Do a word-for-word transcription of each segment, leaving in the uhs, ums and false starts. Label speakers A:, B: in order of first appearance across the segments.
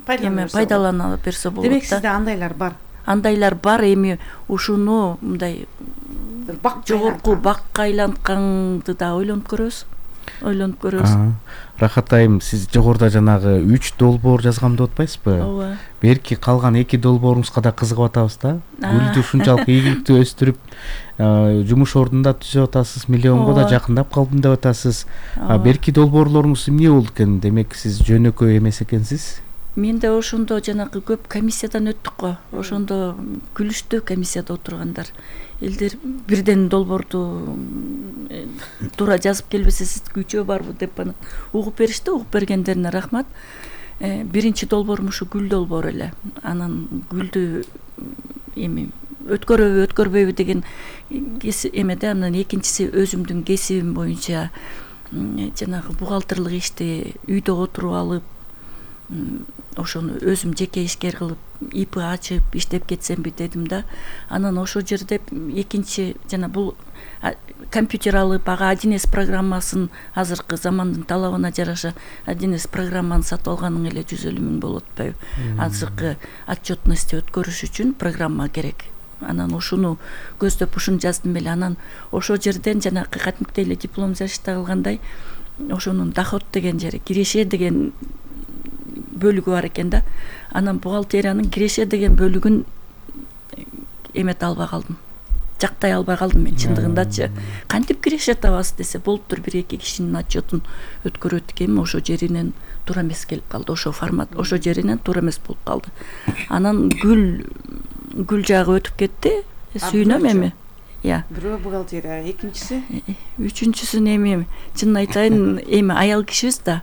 A: эме пайдалана берсе болот да.
B: Демек сизде андайлар бар.
A: Андайлар бар, эми ушуну мындай жогорку бакка айлантканды да ойлонуп көрөбүз. Ойлонуп көрөбүз.
C: Рахат айым, сиз жогоруда жанагы үч долбоор жазгам деп атпайсызбы?
A: Ооба.
C: Берки калган эки долбооруңузга да кызыгып атабыз да. Гүлдү ушунчалык ийгиликтүү өстүрүп, жумуш ордун да түзүп атасыз, миллионго да жакындап калдым деп атасыз. Берки долбоорлоруңуз эмне болду экен? Демек сиз жөнөкөй эмес экенсиз.
A: Мен да ошондо жанагы көп комиссиядан өттүк го. Ошондо күлүштү комиссияда отургандар. Элдер бирден долбоорду туура жазып келбесе сиздики үчөө барбы деп аны угуп беришти. Угуп бергендерине рахмат. Биринчи долбоорум ушу гүл долбоору эле. Анан гүлдү эми өткөрөбү, өткөрбөйбү деген эмеде, анан экинчиси өзүмдүн кесибим боюнча жанагы бухгалтерлык ишти үйдө отуруп алып, ошону өзүм жеке ишкер кылып, ИП ачып иштеп кетсемби дедим да. Анан ошол жерде экинчи жана бул компьютер алып, ага один эс программасын азыркы замандын талабына жараша один эс программаны сатып алганың эле жүз элүү миң болуп атпайбы? Азыркы отчетности өткөрүш үчүн программа керек. Анан ушуну көздөп ушуну жаздым эле. Анан ошол жерден жанагы катимки эле диплом защита кылгандай ошонун доход деген жери, киреше деген бөлүгү бар экен да. Анан бухгалтериянын киреше деген бөлүгүн эмете албай калдым. Жактай албай калдым мен чындыгындачы. Кантип киреше табасыз десе, болуптур бир эки кишинин отчетун өткөрөт экенмин, ошо жеринен туура эмес келип калды, ошо формат, ошо жеринен туура эмес болуп калды. Анан гүл гүл жагы өтүп кетти. Сүйүнөм эми. Я.
B: Бирөө бухгалтерия, экинчиси?
A: Үчүнчүсүн эми чынын айтайын, эми аял кишибиз да.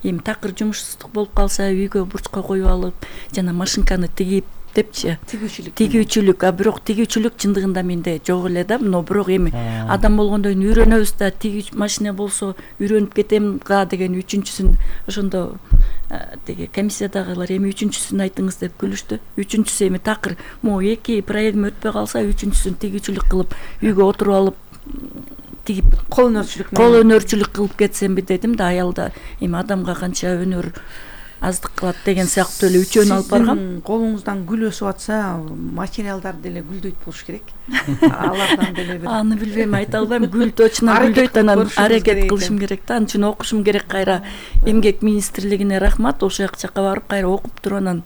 A: Эми такыр жумушсуздук болуп калса, үйгө бурчка коюп алып, жана машинканы тигип депчи.
B: Тигүүчүлүк.
A: Тигүүчүлүк, а бирок тигүүчүлүк чындыгында менде жок эле да. Но бирок эми адам болгондон кийин үйрөнөбүз да, тигүүч машина болсо үйрөнүп кетем га деген үчүнчүсүн ошондо деги комиссиядагылар эми үчүнчүсүн айтыңыз деп күлүштү. Үчүнчүсү эми такыр могу эки проектим өтпөй калса, үчүнчүсүн тигүүчүлүк кылып, үйгө отуруп алып тигип
B: кол өнөрчүлүк
A: кол өнөрчүлүк кылып кетсемби дедим да. Аялда эми адамга канча өнөр аздык кылат деген сыяктуу эле үчөөнү алып баргам.
B: Сиздин колуңуздан гүл өсүп атса, материалдар деле гүлдөйт болуш керек. Алардан деле бир.
A: Аны билбейм, айта албайм. Гүл точно гүлдөйт, анан аракет кылышым керек да. Анын үчүн окушум керек. Кайра эмгек министрлигине рахмат, ошол жакка барып кайра окуп туруп анан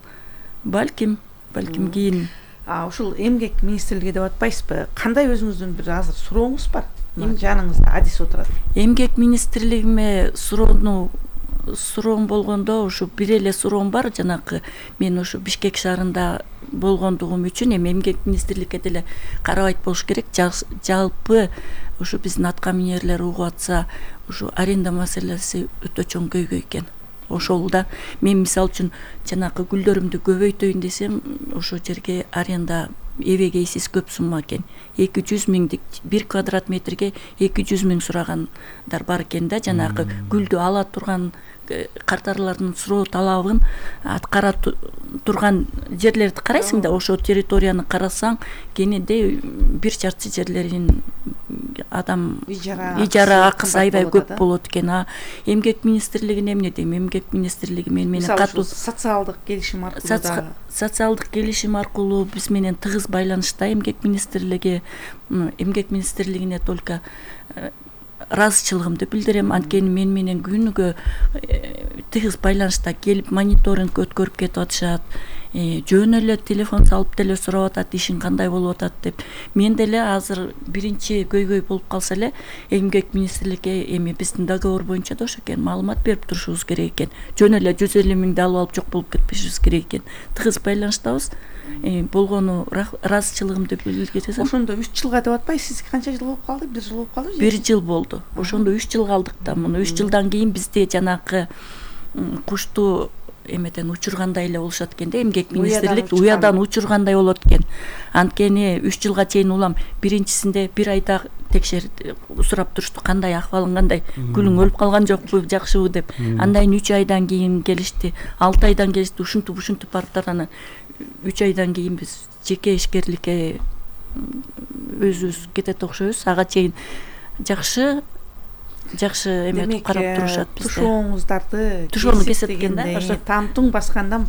A: балким, балким кийин.
B: А ушул эмгек министрлиги деп атпайсызбы? Кандай өзүңүздүн бир азыр сурооңуз бар? Жаныңызда адис отурат.
A: Эмгек министрлигиме суроону суроом болгондо ушу бир эле суроом бар. Жанагы мен ушу Бишкек шаарында болгондугум үчүн эми эмгек министрликке деле карабайт болуш керек. Жалпы ушу биздин аткаминерлер угуп атса, ушу аренда маселеси өтө чоң көйгөй экен. Ошол да мен мисалы үчүн жанагы гүлдөрүмдү көбөйтөйүн десем, ошол жерге аренда эбегейсиз көп сумма экен. эки жүз миңдик бир квадрат метрге эки жүз миң сурагандар бар экен да. Жанагы гүлдү ала турган картарлардын суроо талабын аткара турган жерлерди карайсың да, ошол территорияны карасаң, кенеде бир шартчы жерлерин адам ижара акысы аябай көп болот экен. А эмгек министрлигине эмне дейм? Эмгек министрлиги мен менен катуу
B: социалдык келишим аркылуу да
A: социалдык келишим аркылуу биз менен тыгыз байланышта эмгек министрлиги. Эмгек министрлигине только ыраазычылыгымды билдирем. Анткени мен менен күнүгө тыгыз байланышта келип мониторинг өткөрүп кетип атышат. Жөн эле телефон салып деле сурап атат, ишиң кандай болуп атат деп. Мен деле азыр биринчи көйгөй болуп калса эле эмгек министрликке эми биздин договор боюнча да ошо экен, маалымат берип турушубуз керек экен. Жөн эле жүз элүү миңди алып алып жок болуп кетпешибиз керек экен. Тыгыз байланыштабыз. Болгону ыраазычылыгымды билдирсем.
B: Ошондо үч жылга деп атпайсыз? Сиз канча жыл болуп калды? бир жыл болуп калдыбы?
A: бир жыл болду. Ошондо үч жыл калдык да. Муну үч жылдан кийин бизде жанагы кушту эметен учургандай эле болушат экен да. Эмгек министрлик уядан учургандай болот экен. Анткени үч жылга чейин улам биринчисинде бир айда текшерип сурап турушту, кандай акыбалың, кандай гүлүң өлүп калган жокпу, жакшыбы деп. Андан кийин үч айдан кийин келишти, алты айдан келишти, ушинтип ушинтип барып анан үч айдан кийин биз жеке ишкерликке өзүбүз кетет окшойбуз. Ага чейин жакшы жакшы эметип карап турушат бизде.
B: Тушооңуздарды
A: тушоону кесет экен да.
B: Ошо тамтуң баскандан